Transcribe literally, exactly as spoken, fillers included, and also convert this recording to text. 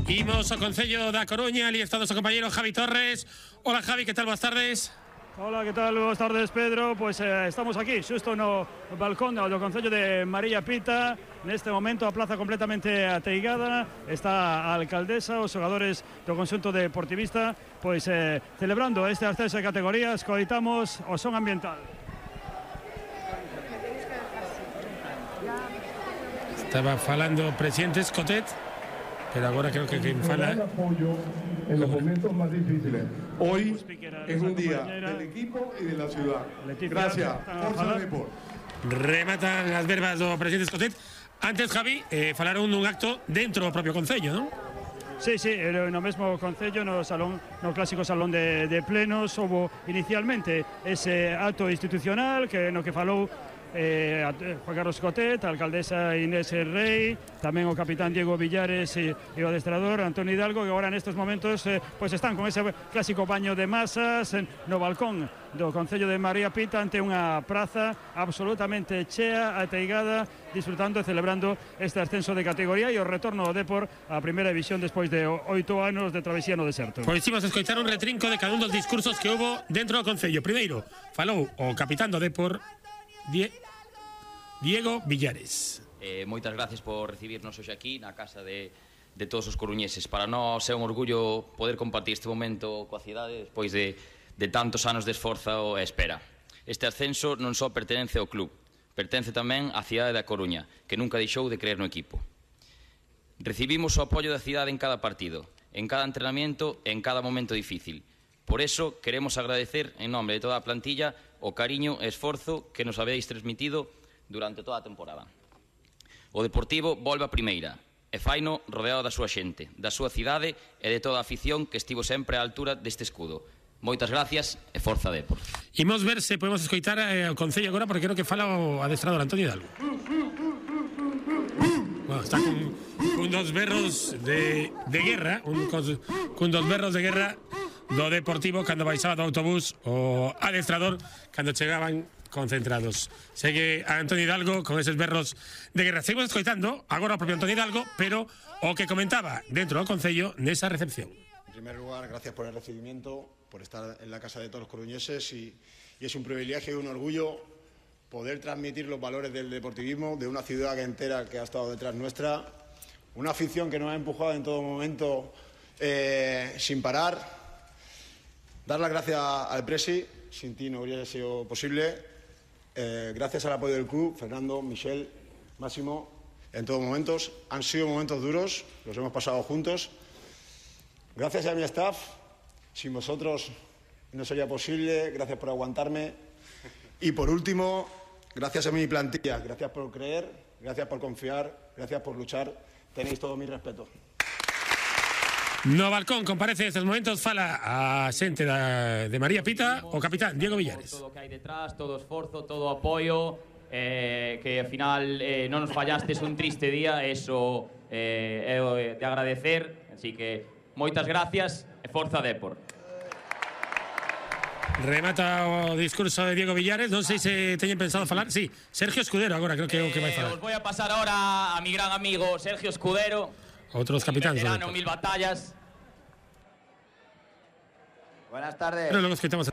Imos ao Concello da Coruña, ali está o noso compañeiro Javi Torres. Hola Javi, que tal? Boas tardes. Hola, que tal? Boas tardes, Pedro. Pois eh, estamos aquí, xusto no balcón do Concello de María Pita. Neste momento a plaza completamente ateigada. Está a alcaldesa, os xogadores do conxunto deportivista, pois eh, celebrando este ascenso de categorías. Coitamos o son ambiental. Estaba falando o presidente Escotet, pero agora creo que quien fala en los momentos más difíciles. Hoy es un día del equipo y de la ciudad. Gracias. Forza Depor. Rematan as verbas do presidente Escotet. Antes, Javi, eh, falaron dun acto dentro do propio Concello, non? Sí, sí, no mesmo Concello, no salón, no clásico salón de, de plenos, houve inicialmente ese acto institucional que no que falou Eh, Juan Carlos Cotet, a alcaldesa Inés Rey, tamén o capitán Diego Villares e, e o adestrador Antonio Hidalgo, que agora nestes momentos eh, pues están con ese clásico baño de masas en, no balcón do Concello de María Pita, ante unha praza absolutamente chea, ateigada, disfrutando e celebrando este ascenso de categoría e o retorno do Depor á primeira división despois de oito anos de travesía no deserto. Pois imos escoitar un retrinco de cada un dos discursos que houve dentro do Concello. Primeiro, falou o capitán do Depor, Die Diego Villares. Eh, moitas gracias por recibirnos hoxe aquí na casa de, de todos os coruñeses. Para nós é un orgullo poder compartir este momento coa cidade despois de, de tantos anos de esforzo e espera. Este ascenso non só pertenece ao club, pertence tamén á cidade da Coruña, que nunca deixou de creer no equipo. Recibimos o apoio da cidade en cada partido, en cada entrenamiento e en cada momento difícil. Por eso queremos agradecer en nome de toda a plantilla o cariño e esforzo que nos habéis transmitido durante toda a temporada. O Deportivo volve a primeira e faino rodeado da súa xente, da súa cidade e de toda a afición que estivo sempre á altura deste escudo. Moitas gracias e forza Depor. Imos ver se podemos escoitar eh, o Concello agora, porque creo que fala o adestrador Antonio Hidalgo. Bueno, está con, con dos berros de, de guerra, un, con, con dos berros de guerra do Deportivo cando baixaba do autobús o adestrador cando chegaban concentrados. Segue a Antonio Hidalgo con esos berros de guerra. Seguimos escoitando agora o propio Antonio Hidalgo, pero o que comentaba dentro do Concello nesa recepción. En primer lugar, gracias por el recibimiento, por estar en la casa de todos los coruñeses y, y es un privilegio y un orgullo poder transmitir los valores del deportivismo de una ciudad entera que ha estado detrás nuestra, una afición que nos ha empujado en todo momento eh, sin parar. Dar las gracias al Presi, sin ti no hubiera sido posible. Eh, gracias al apoyo del club, Fernando, Michel, Máximo, en todos momentos. Han sido momentos duros, los hemos pasado juntos. Gracias a mi staff, sin vosotros no sería posible, gracias por aguantarme. Y por último, gracias a mi plantilla, gracias por creer, gracias por confiar, gracias por luchar. Tenéis todo mi respeto. No balcón comparece en estes momentos, fala a xente da, de María Pita o capitán Diego Villares. Todo o que hai detrás, todo o esforzo, todo o apoio, eh, que ao final eh, non nos fallastes un triste día, eso eh, é de agradecer, así que moitas gracias e forza Depor. Remata o discurso de Diego Villares, non sei se teñen pensado falar. Sí, Sergio Escudero agora creo que é o que vai falar. Eh, os vou a pasar ahora a mi gran amigo Sergio Escudero. Outros capitáns. Veterano, mil batallas. Buenas tardes. Pero logo escoitamos